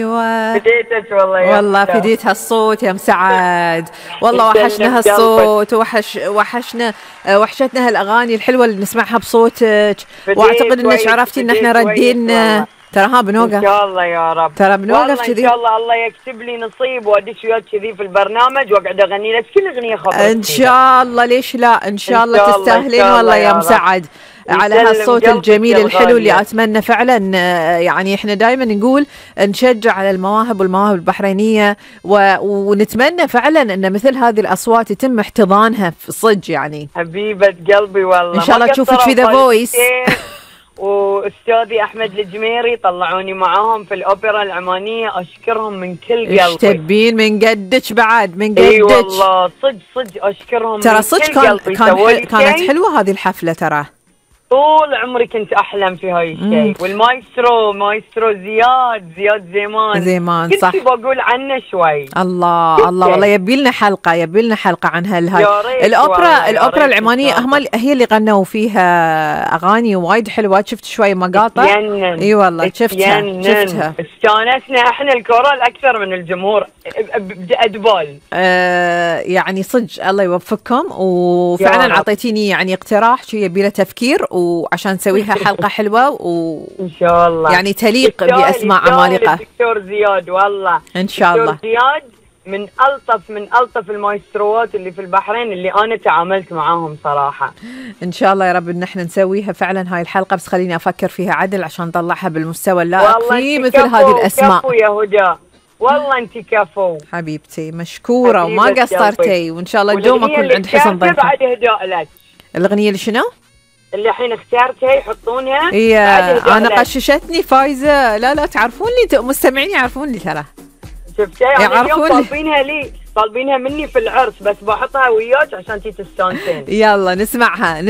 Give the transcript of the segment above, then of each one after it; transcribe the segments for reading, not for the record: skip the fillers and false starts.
ايوه فديتك والله يا والله أختي. فديت هالصوت يا مسعد، والله وحشنا هالصوت، وحشنا وحشتنا هالاغاني الحلوه اللي نسمعها بصوتك، واعتقد انك عرفتي ان احنا ردين. ترى ها بنوقف ان شاء الله يا رب، ترى بنوقف كذي، كذي ان شاء الله الله يكتب لي نصيب وادش وياك كذي في البرنامج واقعد اغني لك كل اغنيه خبرت ان شاء الله. ليش لا؟ ان شاء الله الله تستاهلين والله يا مسعد على هالصوت الجميل الحلو اللي اتمنى فعلا. يعني احنا دائما نقول نشجع على المواهب والمواهب البحرينيه، ونتمنى فعلا ان مثل هذه الاصوات يتم احتضانها في صج. يعني حبيبه قلبي والله ان شاء الله تشوفك في ذا فويس. واستاذي احمد الجميري طلعوني معاهم في الاوبرا العمانيه، اشكرهم من كل قلبي. ايش تبين من قدك بعد، من قدك. اي والله صدق اشكرهم ترى صدق كانت حلوه هذه الحفله. ترى طول عمري كنت احلم في هاي الشيء. والمايسترو زياد زيمان صح، كنت بقول عنه شوي. الله والله يبي لنا حلقه عن هاي الاوبرا العمانيه. هي اللي غنوا فيها اغاني وايد حلوه، شفت شوي مقاطع. اي والله شفتها استانسنا احنا الكورال اكثر من الجمهور ادبال. يعني صدق الله يوفقكم، وفعلا اعطيتيني يعني اقتراح شو يبي له تفكير، وعشان نسويها حلقة حلوة إن شاء الله يعني تليق بأسماء عمالقة. الدكتور زياد والله إن شاء الله. زياد من ألطف المايستروات اللي في البحرين اللي أنا تعاملت معاهم صراحة. إن شاء الله يا رب إن احنا نسويها فعلا هاي الحلقة، بس خليني أفكر فيها عدل عشان نطلعها بالمستوى اللائق في مثل هذه الأسماء. كفو يا هدى والله أنت كفو حبيبتي، مشكورة وما قصرتي، وإن شاء الله اليوم أكون عند حسن ظنكم. بعد إهداء لك الأغنية اللي شنو؟ اللي الحين اختارتها يحطونها. انا قششتني فايزه. لا تعرفوني، مستمعين يعرفوني ترى. شفتها يعرفوني. طالبينها مني في العرس، بس بحطها وياك عشان تستانسين. يلا نسمع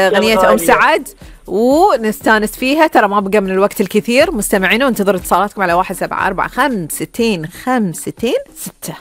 اغنيه ام سعد ونستانس فيها. ترى ما بقى من الوقت الكثير مستمعين، وانتظروا اتصالاتكم على 1745 65 65 6.